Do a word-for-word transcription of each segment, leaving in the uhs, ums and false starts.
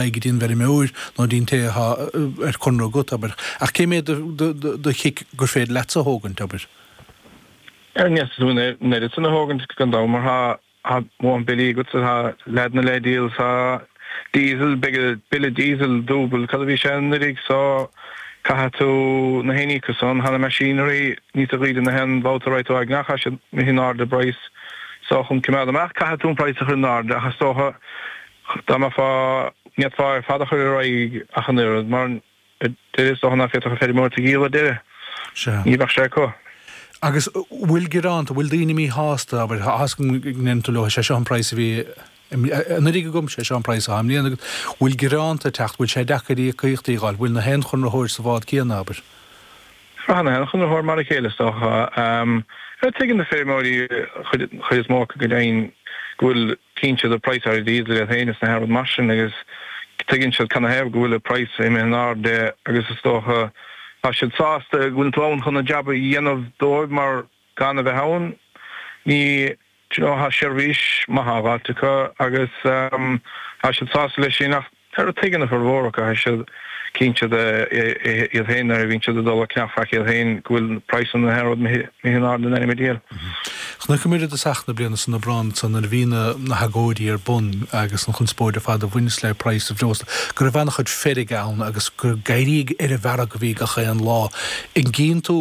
Go dtí an bhfeirmeoir nó dtí'n té atá ar conradh agat, abair. Ach cé mhéad de chic gur féidir leatsa a thógaint, abair? Ar ndeas tú an oiread san a thógaint gan dabht mar tá mórán billí agat, tá leaideanna le díol, tá diesel, beidh bille diesel dúbail cad a bhí sé anuraidh so caithfidh tú na haon íoc san, tá na machinery níos gaoithe na haon bhabhta a raghaidh tú ag nach tá siad imithe in airde i bpraghas so chun coimeád amach caithfidh tú an praghas a chur in airde ach is dócha Dá mbeifeá, ní fhéadfá ar fad a chur ar aghaidh ach an oiread, mar ar deireadh is dócha nach bhféadfadh an feirmeoir a dhíol ar deireadh. Sea. Ní bheadh sé acu. Agus bhfuil gearánta, bhfuil daoine míshásta, abair, tá a fhios agam go ndeireann tú leo, sé seo an praghas a bhí anuraidh agam, sé seo an praghas atá i mbliana agat, bhfuil gearánta ag teacht, bhfuil sé deacair íocaíochtaí a fháil, bhfuil na haon chonraitheoir sa bhád céanna, abair? Braitheann na haon chonraitheoir mar a chéile is dócha. Tuigeann na feirmeoirí, chuid is mó acu go deimhin, go bhfuil Tchíonn siad an praghas ar diesel iad féin is na haon rud mar sin agus tuigeann siad canathaobh go bhfuil an praghas imithe in airde agus is dócha tá siad sásta go bhfuil tú ann chun an jab a dhéanamh dóibh mar gan a bheith ann ní do you know tá seirbhís maith á dh'fháilt acu agus tá siad sásta leis sin ach tuigeann a formhór acu tá siad cinnte de iad féin nuair a bhíonn siad ag dul ag ceannach faic iad féin go bhfuil praghsanna na haon rud imithe in airde in ainm an diabhail. Chonaiceamar i dtosach na bliana san Aibreán san nuair a bhí na hagóidí ar bun agus an chonspóid ar fad a bhaineas le praghas an bhreosla go raibh an-chuid feirge ann agus gur ag éirí ar an bhfearg a bhí gach aon lá. An gcíonn tú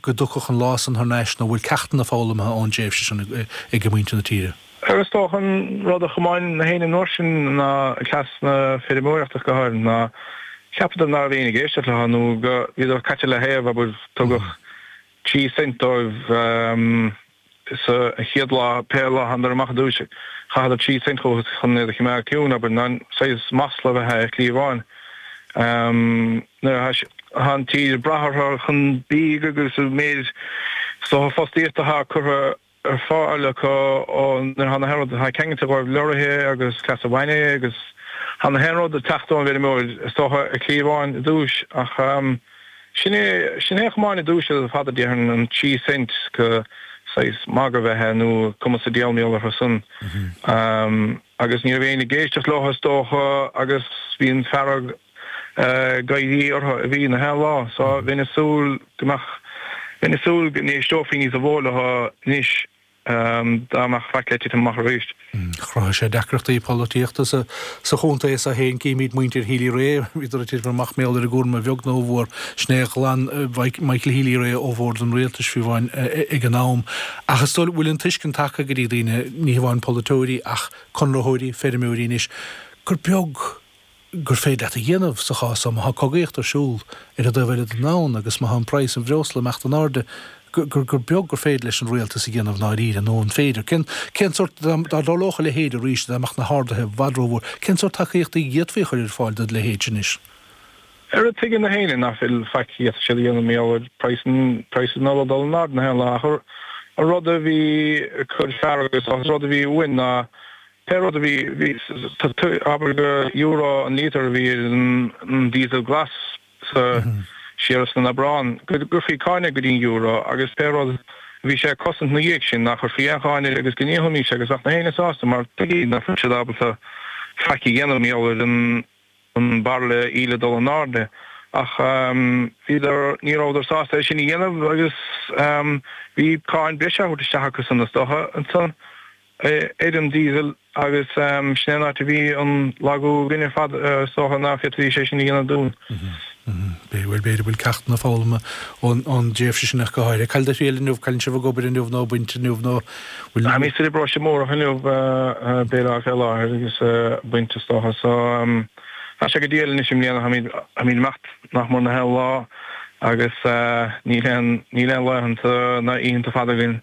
go dtiocfadh an lá san thar n-ais nó bhfuil ceachtanna foghlamtha ón dtréimhse sin ag muintir na tíre? Is dócha an rud a chomáin na héinne an uair sin ná cleas na feirmeoireachta go háirithe ná cheapadar ná raibh éinne ag éisteacht leo nó go bhíodar caite le thaobh abair tugadh trí cent dóibh sa chéad lá pé lá a thánadar amach i dtús chaitheadar trí cent chucu chun iad a choimeád ciúin abair ná saghas masla a bheith ar chliabhán nuair atá an tír ag brath orthu chun bídh agus an méid is dócha fostaíochta atá curtha ar fáil acu ó nuair atá na haon rud atá ceangailte dhóibh leoraithe agus cleasa bainne agus tá na haon rud ag teacht ón bhfeirmeoir is dócha ar chliabhán i dtús ach sin é sin é a chomáin i dtús ar fad a déarfainn an trí cent go saghas magadh a bheith é nó cuma sa diabhal mar gheall orthu san agus ní raibh éinne ag éisteacht leo is dócha agus bhí an fearg ag éirí orthu a bhí na haon lá so bheinn ag súil go mbeadh bheinn ag súil go n-éisteofaí níos mó leo anois dá mbeadh faic le titim amach arís. Chruthaigh sé deacrachtaí polaitíochta sa sa chontae seo féin. Címid muintir Healy-Rae, bhíodar ag titim amach mar gheall ar an gcúram a bheag nó a mhór. Sin é a ghlan Michael Healy-Rae ó bhord an rialtais fiú amháin ag an am. Ach is dóigh bhfuil an tuiscint tagtha go dtí daoine, ní hamháin polaiteoirí ach conraitheoirí, feirmeoirí anois, gur beag gur féidir leat a dhéanamh sa chás seo má tá cogaíocht ar siúl ar an dtaobh eile den domhan agus má tá an praghas an bhreosla ag imeacht in airde, gur gur beag gur féidir leis an rialtas a dhéanamh i ndáiríre, nó an féidir? Cén cén sórt, dá dtarlódh a leithéid arís, dá mbeadh na harduithe i bhfad rómhór, cén sórt tacaíochtaí a d'fhéadfaí a chur ar fáil do leithéid sin anois? Ar tuigeann na héinne nach bhfuil faic a d'fhéadfadh siad a dhéanamh mar gheall ar praghas an praghas an ola ag dul in airde na haon lá ach an rud a bhí ag cur fearg is an rud a bhí uainn ná Pé rud a bhí, bhí, abair gur euro an líotar a bhí ar an diesel glas sa, siar san Aibreán, go gcuirfí cáin air go dtí an euro agus pé rud a bhí sé ag cosaint na dhiaidh sin, nach gcuirfí aon cháin air agus go ndíolfaimis agus bheadh na héinne sásta mar tuigeadh nach raibh siad ábalta faic a dhéanamh mar gheall ar an an bairille íle ag dul in airde ach bhíodar, ní rabhadar sásta é sin a dhéanamh agus bhí cáin breise á thabhairt isteach acu san is dócha ansan ar an diesel agus sin é an áit a bhí an lagú againn ar fad is dócha ná féadfaidís é sin a dhéanamh dúinn. Bhuel b'fhéidir go bhfuil ceachtanna foghlamtha ón dtréimhse sin ach go háirithe. Cá bhfuil do thriall inniu, cá bhfuil sibh ag obair inniu nó ag baint inniu nó bhfuil. Táimid sa bparóiste amárach inniu, Béal Átha fé láthair agus ag baint is dócha. So tá sé go diail anois i mbliana, táimid ag imeacht nach mór na haon lá agus níl aon níl aon laethanta ná oícheanta fada againn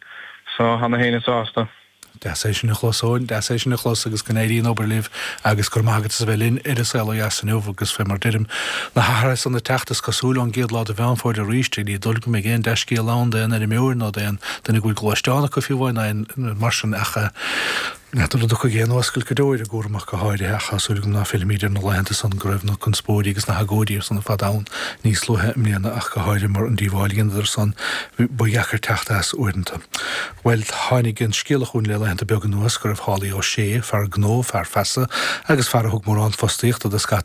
so tá na héinne sásta. Deas é sin a chlos, Eoin, deas é sin a chlos agus go n-éirí an obair libh agus go raibh maith agat as a bheith linn ar An Saol Ó Dheas inniu agus fé mar deirim, na hathruithe san ag teacht is cosúil ón gcéad lá de Mheán Fómhair arís, ní dóigh liom go mbeidh aon dea-scéal ann d'aon fheirmeoir nó d'aon duine go bhfuil gluaisteán acu fiú amháin ná aon mar sin ach N'fheadar an dtiocfaidh aon oscailt go deo ar an gcúram ach go háirithe ach tá súil agam ná fillfimid ar na laethanta san go raibh na conspóidí agus na hagóidí ar son fad ann níos luaithe i mbliana ach go háirithe mar an díobháil a dheineadar san ba dheacair teacht as uaireanta. Bhuel tháinig an scéala chugainn le laethanta beaga anuas go raibh Holly Ó Sé, fear gnó, fear feasa agus fear a thug mórán fostaíochta do scata